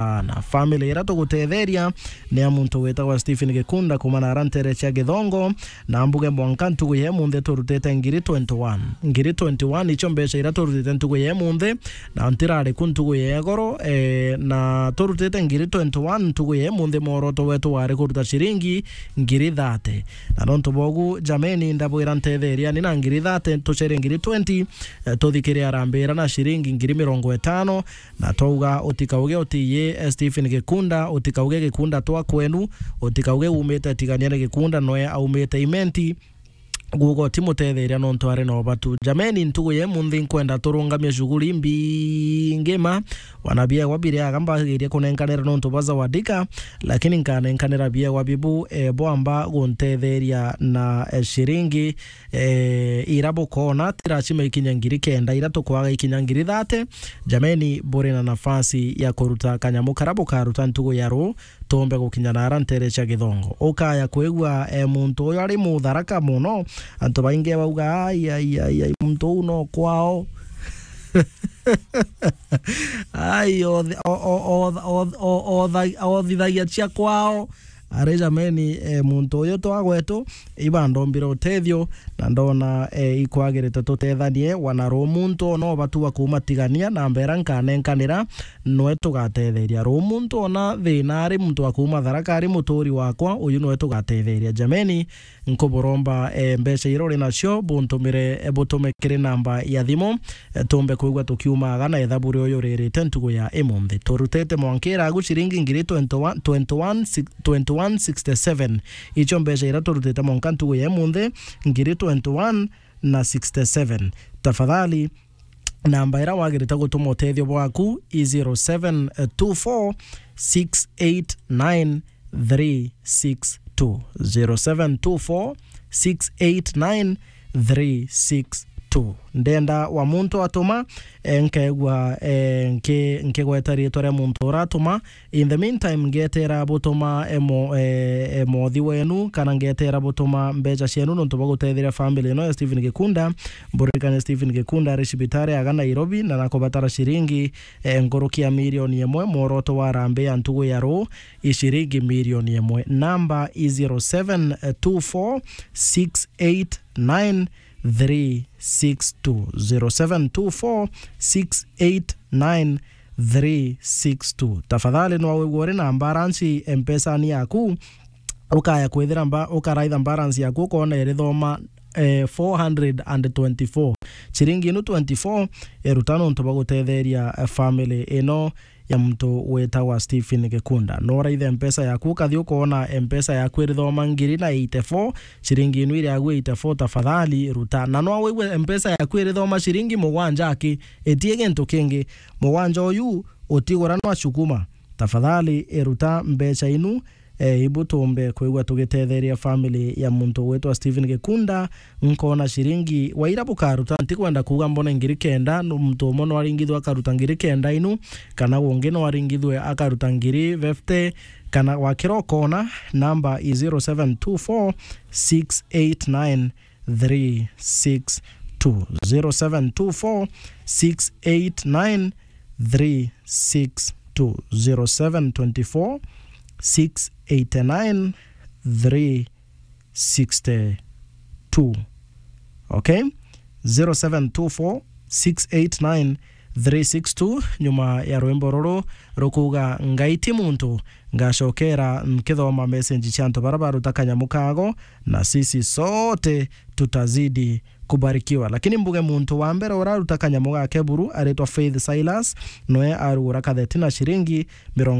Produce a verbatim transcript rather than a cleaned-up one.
sana. Family ira tugutetheria ni ya muntu witagwa Stephen Gikunda kuuma na ara ntere cia Githongo, na mbuge mwanka ntugu ya imunthi turutite ngiri twenty-one. Ngiri twenty-one icio mbeca ira turutite ntugu ya imunthi, na ntirari ku ntugu ya igoro, eh, na turutite ngiri twenty-one ntugu ya imunthi, mworoto wetu wari kuruta ciringi ngiri thirty. Na nontu bogu, jameni, ndabwira ntetheria ni na ngiri thirty, tucere ngiri twenty, eh, tuthikire arambira na ciringi ngiri mirongo itano, na twauga utikauge utiye, eh, Stephen Gikunda, utikauge Gikunda twa kwenu, utikauge umite Tigania ni Gikunda noe aumite Imenti, gugo ti mutetheria nontu ari na ubatu. Jameni, ntugu ya imunthi nkwenda turungamie shughuli mbingi ma, wana biegwa biriaga mbagirie kunenkanira nontu bwa Zawadika, lakini nkanenkanira biegwa bibu, eh, bwamba guntetheria na, eh, ciringi, eh, ira bukona ti lazima ikinya ngiri kenda, ira tukwaga ikinya ngiri thirty. Jameni, buri na nafasi ya kuruta kanyamu kara bukaruta ntugu ya ruu, tuumbe gukinya na ara ntere cia Githongo. Ukaya kwigua, eh, muntu uyu ari mutharaka mono, antu baingi bauga, "Ai, ai, ai, ai, muntu uu no kwao." Ai, othi-, o-, o-, o-, o-, o-, otha-, othithagia cia kwao. Ari jameni, eh, muntu uyu twa gwetu, iba ndombire utethio, na ndona, eh, ikwagirite tutethanie, wana ruu muntu ona ubatu wa kuuma Tigania, na mbera nkanenkanira, noe tugatetheria. Ruu muntu ona thina ari muntu wa kuuma Tharaka ari muturi wakwa, uyu noe tugatetheria. Jameni, nkuburomba, eh, mbeca ira uri nacio, buntumire, eh, butume kiri namba ya thimu, eh, tumbe kwigua tukiumaga na ithabu rio yuririte ntugu ya imunthi. Turutite mwanka iragu ciringi ngiri twenty-one, twenty-one, six, twenty-one sixty-seven. Icio mbeca ira turutite mwanka ntugu ya imunthi, ngiri twenty-one na sixty-seven. Tafadhali, namba ira wagirite gutuma utethio bwaku i zero seven two four six eight nine three six two, zero seven two four six eight nine three six two. Ndenda wa muntu atuma, eh, nkaigua, eh, nki-, nkigweta riitwa ria muntu uratuma. In the meantime, ngetera butuma, eh, mo-, eh, eh, mothi wenu, kana ngetera butuma mbeca cienu nontu bwa gutetheria family ino ya Stephen Gikunda. Mburirikane Stephen Gikunda ari cibitari aga Nairobi, na nakubatara ciringi, eh, nkuruki ya milioni imwe. Mworoto wa harambee ya ntugu ya ruu i ciringi milioni imwe. Namba i zero seven two four six eight nine three six two, zero seven two four six eight nine three six two. Tafadhali, no wigua uri na balance Mpesa-ni yaku, ukaya kwithira mba-, ukaraitha balance yaku, ukona irithoma, eh, four hundred and twenty-four. Ciringi inu twenty-four iruta nontu bwa gutetheria, eh, family ino ya muntu witagwa Stephen Gikunda. No uraithe Mpesa yaku, ukathi ukoona Mpesa yaku irithoma ngiri na eighty-four, ciringi inu iri agu eighty-four, tafadhali ruta. Na no wigwe Mpesa yaku irithoma ciringi mugwanja aki, itie gintu kingi. Mugwanja uyu utigura no acukuma. Tafadhali iruta mbeca inu, eh, ibu tumbe kwigua tugitetheria family ya muntu witwa Stephen Gikunda. Nkona ciringi waira bukaruta, ntikwenda kuuga mbone ngiri kenda, no muntu umwe no aringithwe akaruta ngiri kenda inu, kana ungi no aringithwe akaruta ngiri fifty, kana wakira ukona, namba i zero seven two four six eight nine three six two, zero seven two four six eight nine three six two, zero seven twenty-four six eight nine three six two. Okay? Zero seven two four six eight nine three six two. Nyuma ya rwimbo ruru rukuuga, "Ngai ti muntu," ngacokera nkithoma message cia antu bara baruta kanyamu kago, na sisi sote tutazidi kubarikiwa. Lakini mbuge muntu wa mbere uraruta kanyamu gake buru aritwa Faith Silas, noe arugura katheti na ciringi mirongo